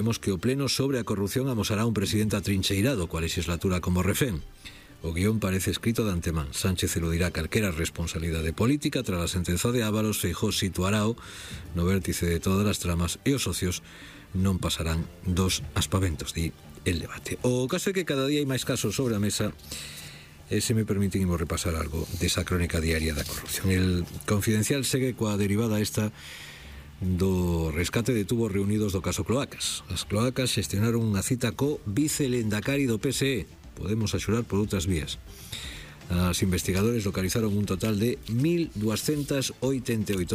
Vemos que o pleno sobre a corrupción amosará un presidente atrincheirado coa legislatura como refén. O guión parece escrito de antemán. Sánchez eludirá calquera responsabilidade política tras a sentenza de Ábalos. Feijóo situarao no vértice de todas as tramas e os socios non pasarán dos aspaventos, di El Debate. O caso é que cada día hai máis casos sobre a mesa. Se me permiten, imos repasar algo desa crónica diaria da corrupción. El Confidencial segue coa derivada esta do rescate de tubos reunidos do caso Cloacas. As Cloacas xestionaron unha cita co vicelendacari do PSE. Podemos axurar por outras vías. Os investigadores localizaron un total de 1.288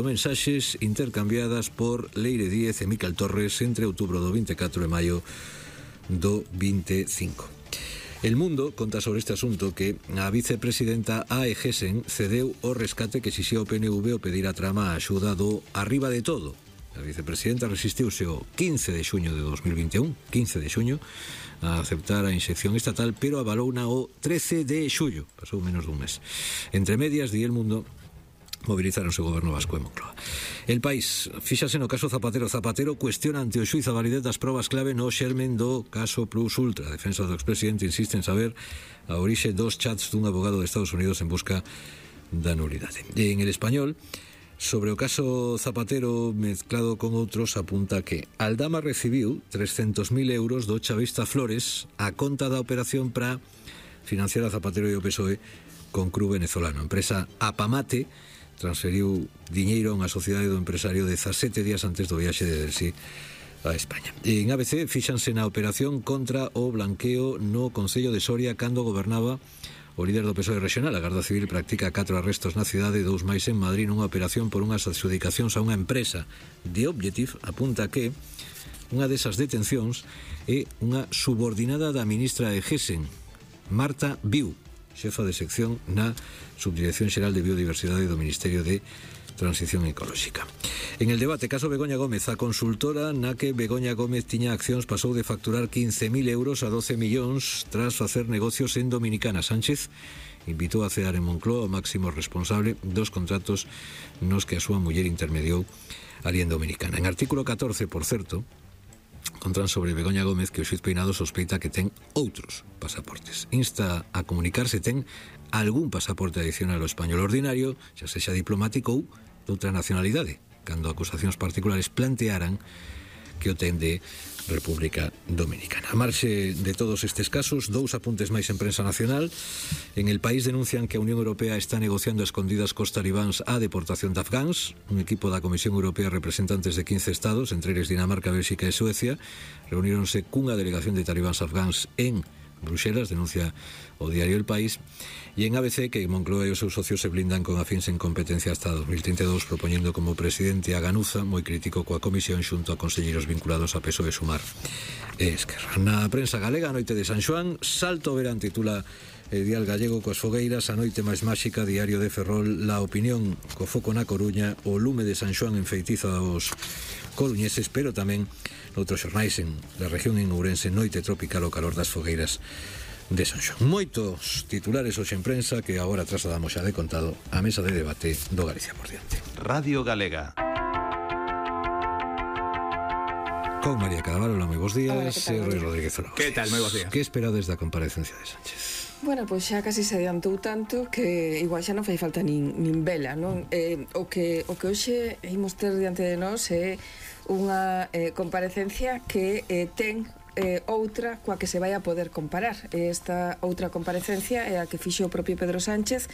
mensaxes intercambiadas por Leire Díez e Miquel Torres entre outubro do 24 e maio do 25. El Mundo conta sobre este asunto que a vicepresidenta Ae Gessen cedeu o rescate que exixía o PNV ao pedir a trama a axuda do Arriba de Todo. A vicepresidenta resistiuse o 15 de xuño de 2021, 15 de xuño, a aceptar a inxección estatal, pero avalouna o 13 de xullo, pasou menos dun mes. Entre medias, di El Mundo, movilizaronse o goberno vasco e Moncloa. El País, fíxase no caso Zapatero. Zapatero cuestiona ante o xuiz a validez das probas clave no xermen do caso Plus Ultra. A defensa do expresidente insiste en saber a orixe dos chats dun abogado de Estados Unidos en busca da nulidade. E en El Español, sobre o caso Zapatero mezclado con outros, apunta que Aldama recibiu 300.000 euros do chavista Flores a conta da operación para financiar a Zapatero e o PSOE con cru venezolano. A empresa Apamate transferiu diñeiro a unha sociedade do empresario 17 días antes do viaxe de Delsi a España. En ABC fíxanse na operación contra o blanqueo no Concello de Soria cando gobernaba o líder do PSOE regional. A Garda Civil practica 4 arrestos na cidade, 2 máis en Madrid, nunha operación por unhas adxudicacións a unha empresa. The Objective apunta que unha desas detencións é unha subordinada da ministra de Gessen, Marta Viu, xefa de sección na Subdirección Xeral de Biodiversidade do Ministerio de Transición Ecolóxica. En El Debate, caso Begoña Gómez, a consultora na que Begoña Gómez tiña accións pasou de facturar 15.000 euros a 12 millóns tras facer negocios en Dominicana. Sánchez invitou a cear en Moncloa o máximo responsable dos contratos nos que a súa muller intermediou ali en Dominicana. En artículo 14, por certo, contan sobre Begoña Gómez que o xuiz Peinado sospeita que ten outros pasaportes. Insta a comunicar se ten algún pasaporte adicional ao español ordinario, xa sexa diplomático ou doutra nacionalidade, cando acusacións particulares plantearan que o ten de República Dominicana. A marxe de todos estes casos, 2 apuntes máis en prensa nacional. En El País denuncian que a Unión Europea está negociando a escondidas cos talibáns a deportación de afgáns. Un equipo da Comisión Europea, representantes de 15 estados, entre eles Dinamarca, Bélxica e Suecia, reuníronse cunha delegación de talibáns afgáns en Bruxelas, denuncia o diario El País. E en ABC que Moncloa e os seus socios se blindan con afíns en competencia hasta 2032, propoñendo como presidente a Ganuza, moi crítico coa comisión xunto a conselleiros vinculados a PSOE, Sumar e Esquerra. Na prensa galega, a noite de San Xoán, Salto Verán titula Dial Gallego coas fogueiras, a noite máis máxica, Diario de Ferrol, La Opinión co foco na Coruña, o lume de San Xoán enfeitiza aos coruñeses, pero tamén noutros xornais en la región en Ourense, noite tropical o calor das fogueiras de San Xoán. Moitos titulares hoxe en prensa que agora trasladamos xa de contado á mesa de debate do Galicia por diante. Radio Galega. Con María Cadavalo, moi bons días. E Rui Rodríguez Zora. Que tal, moi bons días. Que esperades da comparecencia de Sánchez? Bueno, pois xa casi se adiantou tanto que igual xa non fai falta nin vela, non? O que hoxe imos ter diante de nós é unha comparecencia que ten outra coa que se vai a poder comparar. Esta outra comparecencia é a que fixo o propio Pedro Sánchez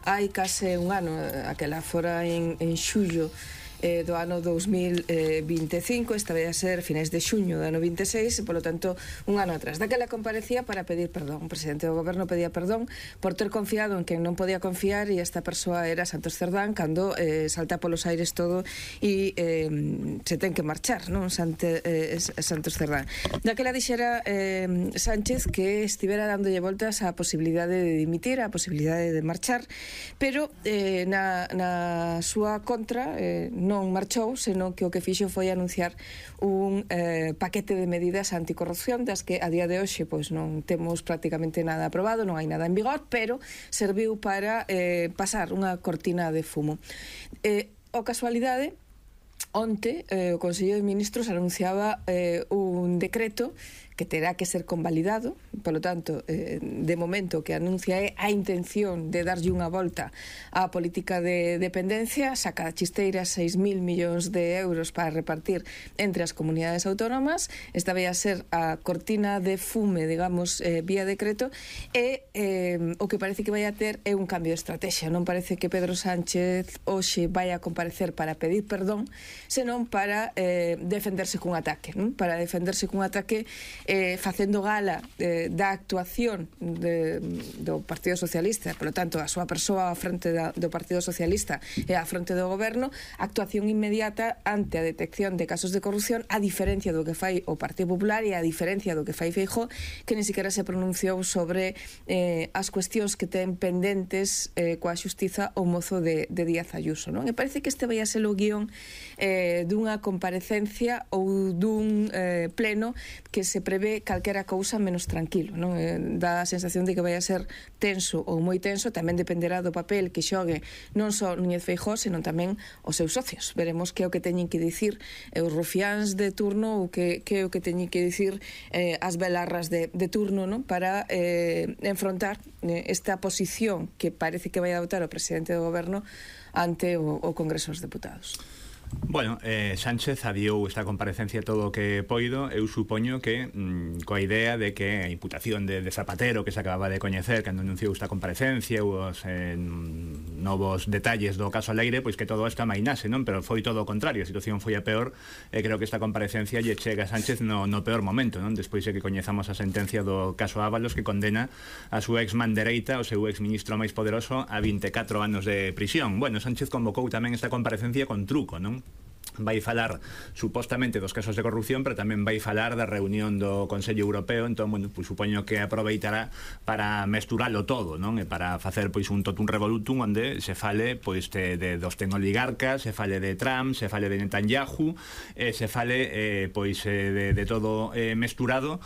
hai case un ano, aquela fora en xullo do ano 2025, esta vai a ser finais de xuño do ano 26, e polo tanto un ano atrás. Daquela comparecía para pedir perdón. O presidente do goberno pedía perdón por ter confiado en quen non podía confiar, e esta persoa era Santos Cerdán, cando salta polos aires todo e se ten que marchar, non? Santos Cerdán. Daquela dixera Sánchez que estivera dándolle voltas á posibilidade de dimitir, á posibilidade de marchar, pero na súa contra non marchou, senón que o que fixo foi anunciar un paquete de medidas anticorrupción das que a día de hoxe pois non temos prácticamente nada aprobado, non hai nada en vigor, pero serviu para pasar unha cortina de fumo. O casualidade onte o Consello de Ministros anunciaba un decreto que terá que ser convalidado, polo tanto, de momento que anuncia é a intención de darlle unha volta á política de dependencia, saca da chisteira 6.000 millóns de euros para repartir entre as comunidades autónomas. Esta vai a ser a cortina de fume, digamos, vía decreto, e o que parece que vai a ter é un cambio de estrategia. Non parece que Pedro Sánchez hoxe vai a comparecer para pedir perdón, senón para defenderse cun ataque, non? Para defenderse cun ataque facendo gala da actuación do Partido Socialista, polo tanto, a súa persoa á frente do Partido Socialista e á frente do goberno, actuación inmediata ante a detección de casos de corrupción, a diferencia do que fai o Partido Popular e a diferencia do que fai Feijóo, que ni siquiera se pronunciou sobre as cuestións que ten pendentes coa xustiza o mozo de Díaz Ayuso, non? E parece que este vai a ser o guión dunha comparecencia ou dun pleno que se prevé calquera cousa menos tranquilo, non? Dá a sensación de que vai a ser tenso ou moi tenso, tamén dependerá do papel que xogue non só Núñez Feijóo, senón tamén os seus socios. Veremos que é o que teñen que dicir os rufiáns de turno ou que é o que teñen que dicir as belarras de turno, non? Para enfrontar esta posición que parece que vai adoptar o presidente do goberno ante o Congreso dos Deputados. Bueno, Sánchez adiou esta comparecencia todo o que poido. Eu supoño que coa idea de que a imputación de Zapatero que se acababa de coñecer cando anunciou esta comparecencia, os novos detalles do caso Leire, pois que todo isto amainase, non? Pero foi todo o contrario, a situación foi a peor, e creo que esta comparecencia lle chega a Sánchez no peor momento, non? Despois de que coñezamos a sentencia do caso Ábalos, que condena a súa ex-man dereita, o seu ex-ministro máis poderoso, a 24 anos de prisión. Bueno, Sánchez convocou tamén esta comparecencia con truco, non? Vai falar supostamente dos casos de corrupción, pero tamén vai falar da reunión do Consello Europeo. Entón, bueno, pues, supoño que aproveitará para mesturalo todo, non? E para facer pois un totum revolutum onde se fale pois dos tecnoligarcas, se fale de Trump, se fale de Netanyahu, se fale pois de todo mesturado.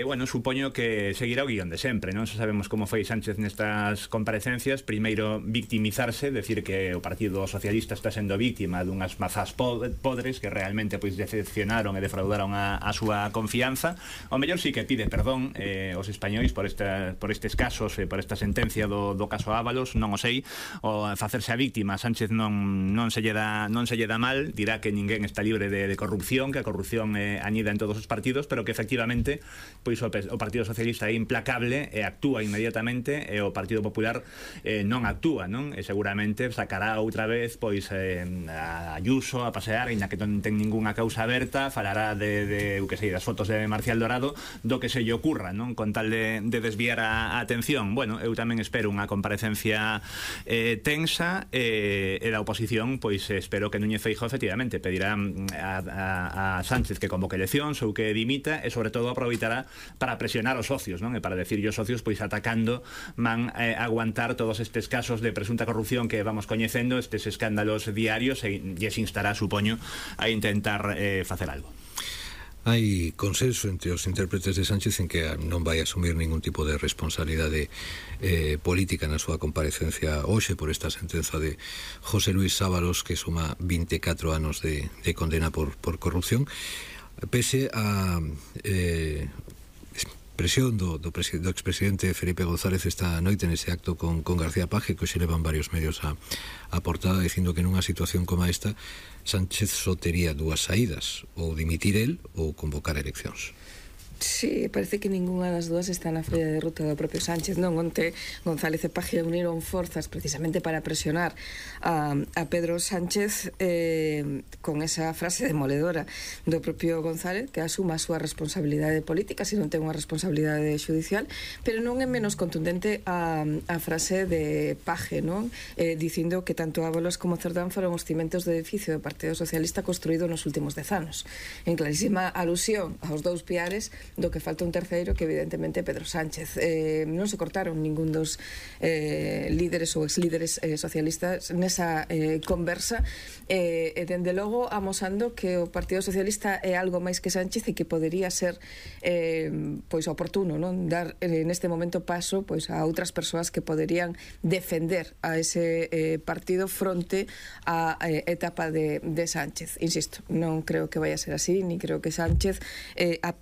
Bueno, supoño que seguirá o guión de sempre, non? Sabemos como foi Sánchez nestas comparecencias. Primeiro, victimizarse, decir que o Partido Socialista está sendo víctima dunhas mazás podres que realmente pois decepcionaron e defraudaron a súa confianza. O mellor sí que pide perdón os españois por estes casos, por esta sentencia do caso Ábalos, non o sei. O facerse a víctima, Sánchez non se lle dá mal, dirá que ninguén está libre de corrupción, que a corrupción anida en todos os partidos, pero que efectivamente pois o Partido Socialista é implacable e actúa inmediatamente, e o Partido Popular non actúa, non? E seguramente sacará outra vez pois a Ayuso a pasear, ainda que non ten ningunha causa aberta, falará de que sei, das fotos de Marcial Dorado, do que se lle ocurra, non? Con tal de desviar a atención. Bueno, eu tamén espero unha comparecencia tensa, e da oposición, pois espero que Núñez Feijóo efectivamente pedirá a Sánchez que convoque eleccións ou que dimita, e sobre todo aproveitará para presionar os socios, non? E para decir os socios, pois atacando man aguantar todos estes casos de presunta corrupción que vamos coñecendo, estes escándalos diarios, e se instará, supoño, a intentar facer algo. Hai consenso entre os intérpretes de Sánchez en que non vai asumir ningún tipo de responsabilidade política na súa comparecencia hoxe por esta sentenza de José Luis Ábalos, que suma 24 anos de condena por corrupción, pese a presión do expresidente Felipe González esta noite nese acto con García Paje, que hoxe levan varios medios a portada dicindo que nunha situación como esta Sánchez só tería dúas saídas, ou dimitir el ou convocar eleccións. Sí, parece que ninguna das dúas está na folla de ruta do propio Sánchez, non? Onte González e Paje uniron forzas precisamente para presionar a Pedro Sánchez con esa frase demoledora do propio González, que asuma a súa responsabilidade política se non ten unha responsabilidade judicial, pero non é menos contundente a frase de Paje, non? Dicindo que tanto Ábalos como Cerdán foron os cimentos do edificio do Partido Socialista construído nos últimos 10 anos, en clarísima alusión aos dous piares do que falta un terceiro, que evidentemente Pedro Sánchez. Non se cortaron ningún dos líderes ou exlíderes socialistas nesa conversa, e dende logo amosando que o Partido Socialista é algo máis que Sánchez e que podería ser pois oportuno, non, dar neste momento paso pois a outras persoas que poderían defender a ese partido fronte á etapa de Sánchez. Insisto, non creo que vaya a ser así, ni creo que Sánchez aplique